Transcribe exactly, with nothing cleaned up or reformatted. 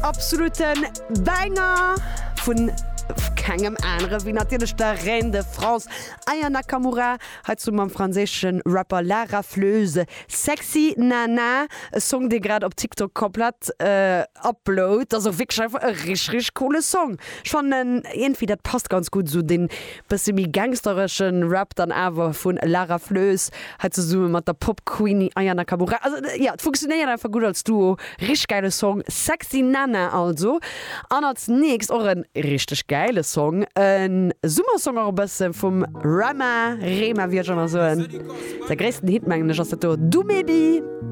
Absoluten Banger vun kengem anere wéi natierlech der Reine de France Aya Nakamura, hei zesumme mam franséische Rapper La Rafleuse, Sexy Nana, e Song dee grad op TikTok komplett upload. Ass och wierklech einfach e richteg richteg coole Song. Ech fannen iergendwéi dat passt ganz gutt, esou dee bësse méi gangsteresche Rap dann awer vun La Rafleuse hei zesumme mat der Pop Queenie Aya Nakamura. Also jo, et funktionéiert einfach gutt als Duo. Richteg gäile Song, Sexy Nana also. An als nächst och e richteg gäile Song, e Summersong och e bësse vum Rema, Rema wéi ech ëmmer soen. Säi gréissten Hit mengen ech ass dat do, Dumebi.